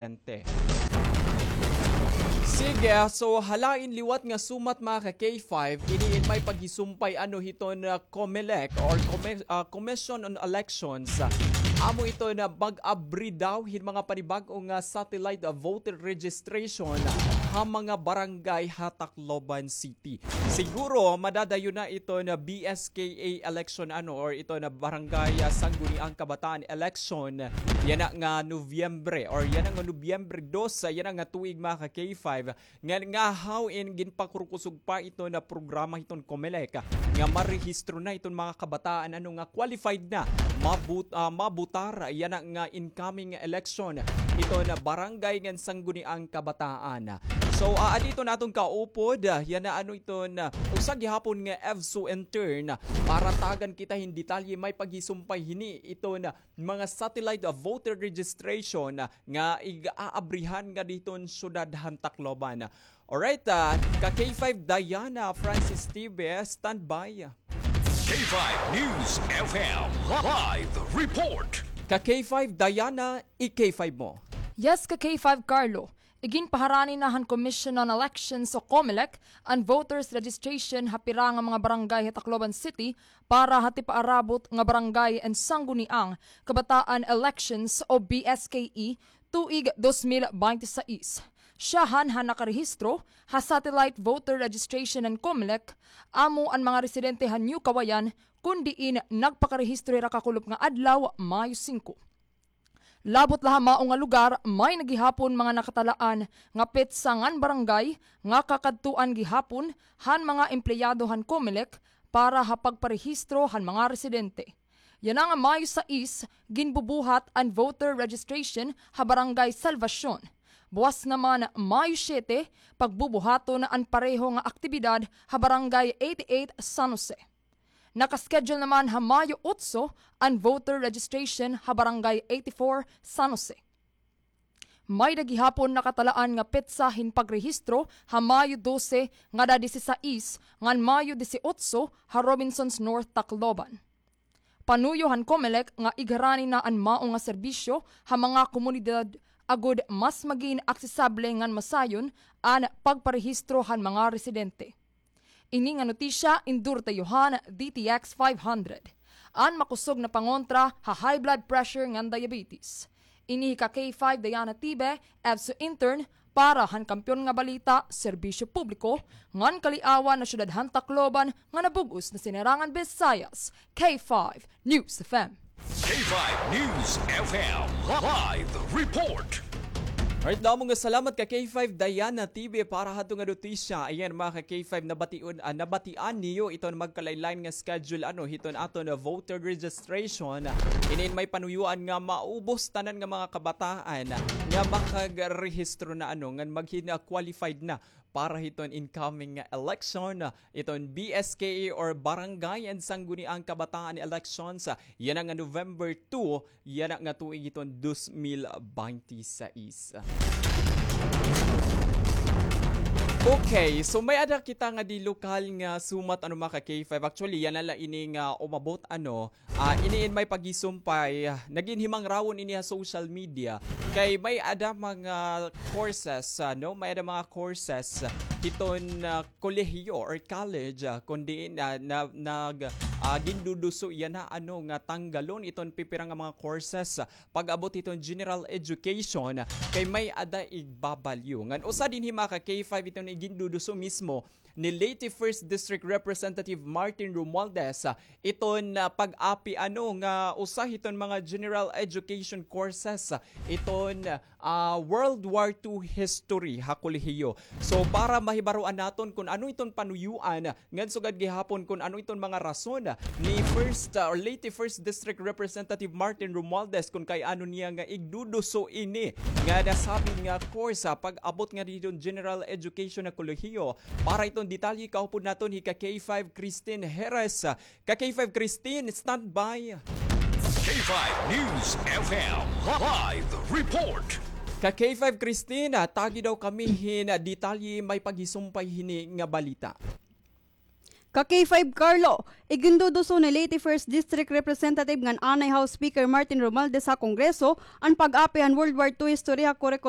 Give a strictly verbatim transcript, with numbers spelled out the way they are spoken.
Presidente. Sige, so halain liwat nga sumat, mga ka K five, ini in may paghisumpay ano hiton, ah, COMELEC or Commi-, ah, Commission on Elections. Amo ito na mag-abri daw hin mga panibag-o nga satellite, ah, voter registration ha mga barangay ha Tacloban City. Siguro madadayon na ito na B S K A election ano or ito na barangay, ah, Sangguniang Kabataan election yana nga Nobyembre or yana nga Nobyembre dos, ah, yana nga tuig, mga ka K five, nga, nga haw in ginpakurkusog pa ito na programa hiton COMELEC, ah, nga marehistro na iton mga kabataan ano nga qualified na mabut-, ah, mabutar yana nga incoming election ito na barangay ngan Sangguniang Kabataan. So, ah, adito na aton kaupod, ah, yana ano ito na usa gihapon nga EVSO intern para tagan kita hin detalye may paghisumpay hini ito na mga satellite, ah, voter registration, ah, nga ig-aabrihan nga diton syudad han Tacloban. Alright, ah, ka K five Diana Francis T V, standby. K five News F M live report. Ka K five Diana, i-K five mo. Yes, ka K five Carlo. Iginpaharani na han Commission on Elections o COMELEC an voters registration ha pira nga mga barangay ha Tacloban City para ha tipaarabot nga barangay and sangguniang kabataan elections o B S K E tuig dos mil binte sais. Syahan han nakarehistro ha satellite voter registration han COMELEC amo an mga residente han New Kawayan, kon diin nagpakarehistro hira kakulop nga adlaw, Mayo singko. Labot la ha mao nga lugar, may na gihapon mga nakatalaan nga petsa ngan barangay nga kakadtuan gihapon han mga empleyado han COMELEC para ha pagparehistro han mga residente. Yana nga Mayo sais, ginbubuhat an voter registration ha Barangay Salvacion. Buwas naman, Mayo siyete, pagbubuhaton an pareho nga aktibidad ha Barangay eighty-eight San Jose. Naka-schedule naman ha Mayo otso an voter registration ha Barangay eighty-four San Jose. May-ada gihapon nakatalaan nga petsa hin pagrehistro ha Mayo dose ngada disisais ngan Mayo disiotso ha Robinsons North, Tacloban. Panuyo han COMELEC nga igharani na an mao nga serbisyo ha mga komunidad agod mas magin aksesable ngan masayon an pagparehistro han mga residente. Ini nga notisya, indorso han D T X five hundred. An makusog na pangontra ha high blood pressure ngan diabetes. Ini hi ka K five Diana Tibe, EVSO intern, para han Kampiyon nga Balita, Serbisyo Publiko, ngan Kaliawan ha siyudad han Tacloban nga nabug-os na Sinirangan Visayas, K five News F M. K five News F M live report. Alright, damo nga salamat ka K five Diana T V para hadto nga notisya. Ayan, mga ka K five, nabation, ah, nabatian niyo iton magkalain-lain nga schedule, ano, hiton aton voter registration. Inin may panuyuan nga maubos tanan nga mga kabataan nga makagrehistro na, ano, ngan maghin, ah, qualified na para hiton incoming nga election, iton B S K A or Barangay and Sangguniang Kabataan Elections, yana nga November two, yana nga tuig hiton dos mil binte sais. Okay, so may-ada kita ngadi lokal nga sumat, ano, mga ka K five. Actually, yana la ini nga umabot, ano, Ah, ini in may paghisumpay, ah, nagin himangrawon ini ha social media. Kay may-ada mga courses, ah, no? May-ada mga courses hiton, ah, kolehiyo or college, ah, kon diin, ah, na, nag, ah, ginduduso yana, ano, nga tanggalon iton pipira nga mga courses, ah, pag-abot hiton general education, ah, kay may-ada igbabalyo. Ngan usa dinhi, mga ka K five, iton iginduduso mismo ni Leyte First District Representative Martin Romualdez, ah, iton, ah, pag-api, ano, nga usa hiton mga general education courses, ah, iton, ah, World War Two history ha kolehiyo. So, para mahibaroan naton kon ano iton panuyuan, ngan sugad gihapon kon ano iton mga rason ni First, ah, or Leyte First District Representative Martin Romualdez kon kay ano niya nga igduduso ini nga nasabi nga course, ah, pag-abot ngadi hiton general education ha kolehiyo. Para iton detalye, kaupod naton hi ka K five Christine Jerez. Ka K five Christine, standby. K five News F M live report. Ka K five Christine, ah, tagi daw kami hin, ah, detalye may paghisumpay hini nga balita. Ka K five Carlo, iginduduso ni Leyte First District Representative ngan anay House Speaker Martin Romualdez ha Kongreso an pag-api han World War Two history ha curriculum.